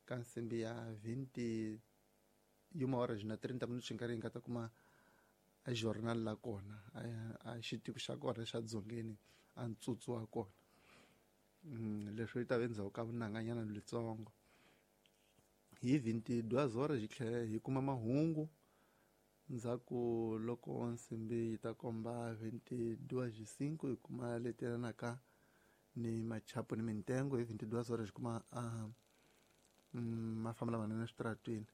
ka nsimbi ya 20 horas na 30 minutos nkarhi hi nga ta kuma a journal la kona a xitiko xa kona xa dzongeni a ntsutsu wa kona. Leswi yi ta va endzhaku ka vunanganyana letsongo. Hi 22 horas hi tlhela hi kuma mahungu ndzhaku loko nsimbi yi ta komba 22:05 hi kuma leti yelanaka ni machapo ni mintengo. Hi 22 horas hi kuma mafamba lamanene eswitarateni.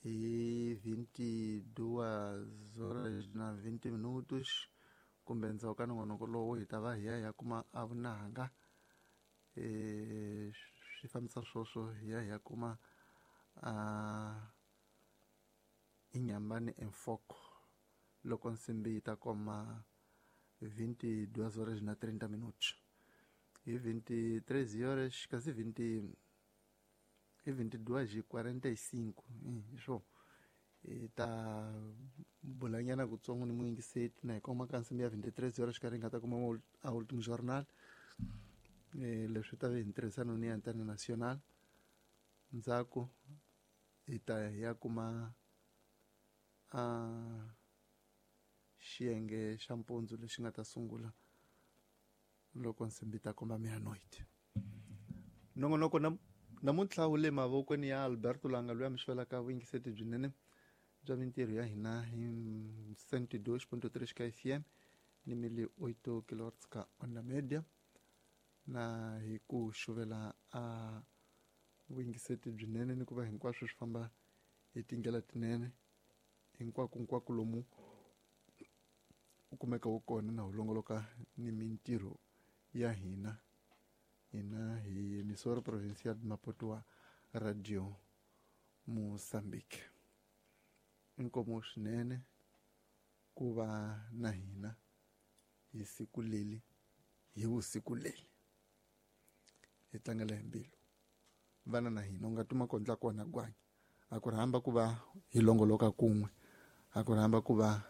Hi 22 horas na 20 minutos kumbe endzhaku ka nongonoko lowu hi ta va hi ya hi ya kuma a vunanga swi fambisa swoswo hi ya hi ya kuma Inyambani Enfoko loko nsimbi yi ta koma 22 horas na 30 minutos. Hi 23 horas kasi 20 hi 22:45 hi swo hi ta bulanyana kutsongo ni muyingiseti na hi koma ka nsimbi ya 23 horas xikarhi hi nga ta kuma a ultimo journal. Leswi ta ve hi ntirhisano ni Antena Nacional. Ndzhaku hi ta hi ya kuma xiyenge xa mpundzu lexi nga ta sungula loko nsimbi ta komba meia-noite. Nongonoko namuntlha wu le mavokweni ya Alberto Langa loyi a mi xavelaka vuyingiseti byinene bya mintirho ya hina hi 102.3 ka FM ni 1008 kilohertz ka Onda Media, na hi ku xuvela a vuyingiseti byinene ni ku va hinkwaswo swi famba hi tindlela tinene hinkwako lomu u kumeka wu kona na wu longoloka ni mintirho ya hina. Hina hi emissora provincial de Maputo wa Radio Mozambique. Inkomo swinene ku va na hina hi siku leli hi vusiku leli hi tlangela hi mbilu vana na hina u nga tuma kondla kona gwanya a ku rhamba ku va hi longoloka kun'we, a ku rhamba ku va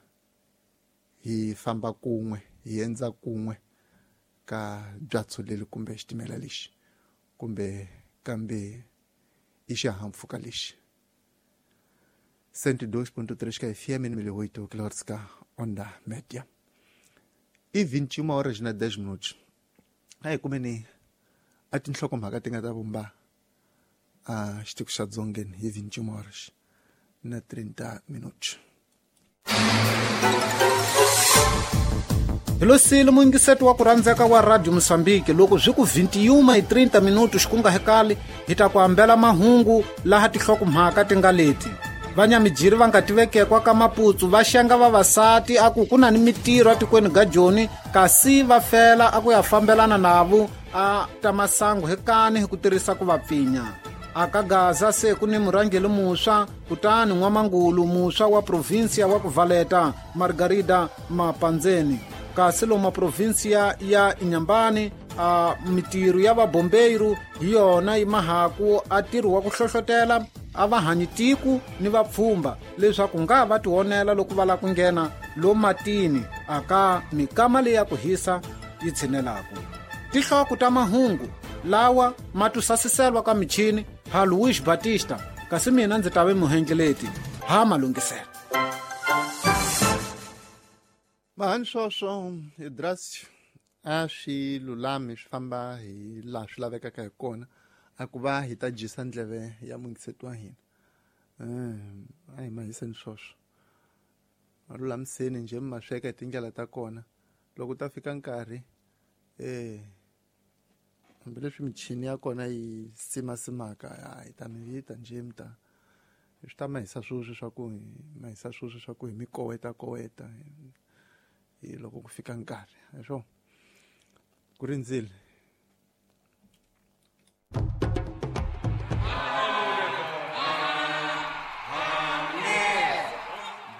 hi famba kun'we, hi endza kun'we ka byatso leli kumbe xitimela lexi kumbe kambe i xihahampfhuka lexi. 102.3 ka FM ni 1008 kilohertz ka Onda Media. I 21 horas na 10 minutos. A hi kumeni a tinhlokomhaka ti nga ta vumba a xitiko xa dzongeni hi 21 horas na 30 minutos. Hi lo sile muyingiseti wa ku rhandzeka wa Radio Mozambique loko swi ku 21:30 minutos ku nga hekali hi ta ku ambela mahungu laha tinhlokomhaka ti nga leti. Vanyamijiri va nga tivekekwa ka Maputsu va xenga vavasati a ku ku na ni mitirho atikweni ga Joni kasi va fela a ku ya fambelana navo a ta masangu hekani hi ku tirhisa ku va pfinya. Aka Gaza se ku ni murhangeri muswa kutani n'wamangulu muswa wa provinsia wa ku Valeta Margarida Mapandzeni. Kasi loma provinsia ya Inyambani a mitirho ya vabombeiro hi yona yi mahaku a ntirho wa ku hlohlotela a va hanyi tiku ni vapfhumba leswaku nga va tionela loko va lava ku nghena lo matini aka mikama leyi ya ku hisa yi tshinelaka. Tinhloko ta mahungu lawa ma tusasiselwa ka michini ha Luis Batista, kasi mina ndzi ta ve muhengeleti ha malungisela. Mahani swoswo Idras a swi lulami swi famba hi laha swi lavekaka hi kona a ku va hi ta dyisa ndleve ya muyingiseti wa hina. A hi mahiseni swoswo ma lulamiseni njhe mi ma sweka hi tindlela ta kona loko ta fika nkarhi hambileswi michini ya kona yi simasimaka hi ta mi vita njhe mi ta swi ta mahisa swoswo swa ku mahisa swoswo swa ku hi mi koweta koweta hi loko ku fika nkarhi hi swona ku rindzile.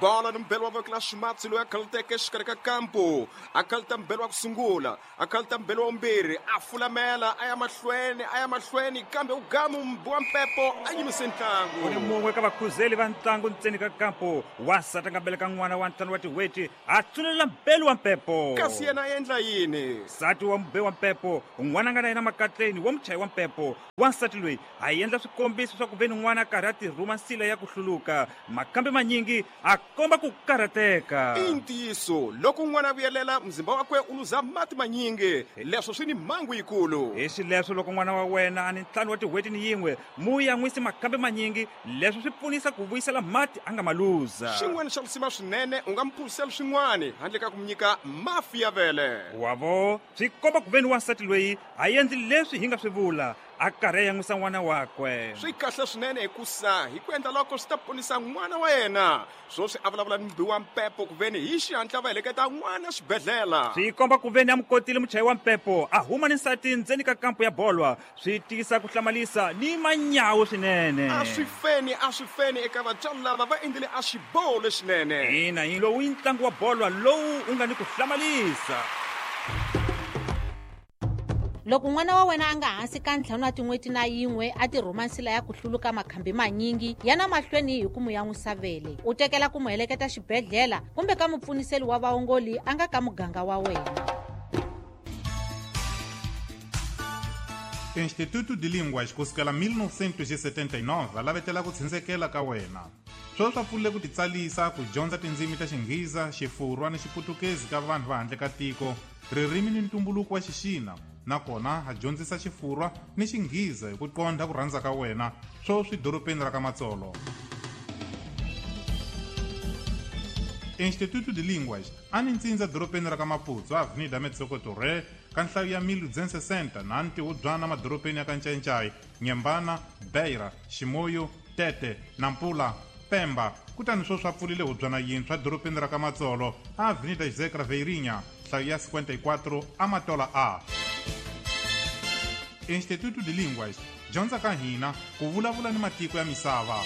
Bolo ni mbelo wa voko la ximatsi loyi a khaluteke exikarhi ka kampu, a khaluta mbelo wa ku sungula, a khaluta mbelo wa vumbirhi, a fulamela a ya mahlweni, a ya mahlweni, kambe u gamu mbi wa mpepo a yimise ntlangu. U ni mun'we ka vakhuzeli va ntlangu ntseni ka kampu, wansati a nga beleka n'wana wa 5 wa tin'hweti, a tsunelela mbelu wa mpepo. Kasi yena a endla yini? Nsati wa mube wa mpepo, n'wana a nga na yena makatleni wa muchayi wa mpepo. Wansati loyi a endla swikombiso swa ku ve ni n'wana a karhi a tirhuma nsila ya ku hluluka. Makhambi manyingi a komba ku karhateka. I ntiyiso, loko n'wana a vuyelela, muzimba wakwe u luza mati manyingi. Leswo swi ni mhangu yikulu. Hi xileswo, loko n'wana wa wena a ni 5 wa tin'hweti ni yin'we, mu yan'wisi makhambi manyingi. Leswo swi pfunisa ku vuyisela mati a nga ma luza. Xin'wana xa lisima swinene, u nga mu phuzisela swin'wana handle ka ku mu nyika mafi ya vele. Wavo, swi komba ku ve ni wansati loyi a endli leswi hi nga swi vula, a karhi a yan'wisa n'wana wakwe. Swi kahle swinene hikusa hi ku endla loko swi ta ponisa n'wana wa yena. Swoswi a vulavula ni mubi wa mpepo ku veni hi xihatla va heleketa n'wana xibedhlele. Swi komba ku veni a mu kotile muchayi wa mpepo, a huma ni nsati ndzeni ka kampu ya bolwa. Swi tiyisa ku hlamalisa ni manyawu swinene. A swi feni, a swi feni eka vatswari lava va endlile a xiboho lexinene. Ina, yi lowu i ntlangu wa bolwa lowu u nga ni ku hlamalisa. Loko n'wana wa wena a nga hansi ka 5 wa tin'hweti na yin'we a tirhuma nsila ya ku hluluka makhambi manyingi, yana mahlweni hi ku mu yan'wisa vele. U tekela ku mu heleketa xibedhlele kumbe ka mupfuniseli wa vaongoli a nga ka muganga wa wena. Instituto de Línguas kusukela 1979 va lavetela ku tshindzekela ka wena. Sweswi va pfulile ku titsalisa ku dyondza tindzimi ta Xinghiza, Xifurwa ni Xiputukezi ka vanhu va handle ka tiko, ririmi ni ntumbuluko wa Xixina, nakona ha dyondzisa Xifurwa ni Xinghiza hi ku qondha ku rhandza ka wena, sweswi dorobeni ra ka Matsolo. Instituto de Línguas a ni ntsindza dorobeni ra ka Maputo, Avenida Metsoko Torre, ka nhlayo ya 1260 na ntihubyana madorobeni ya ka Ncayincai, Nyembana, Beira, Ximoyo, Tete, Nampula, Pemba. Kutani sweswi va pfulile hubyana yintshwa dorobeni ra ka Matsolo, Avenida José Craveirinha, nhlayo ya 54 Amatola A. Instituto de Línguas, dyondza ka hina ku vulavula ni matiko ya misava.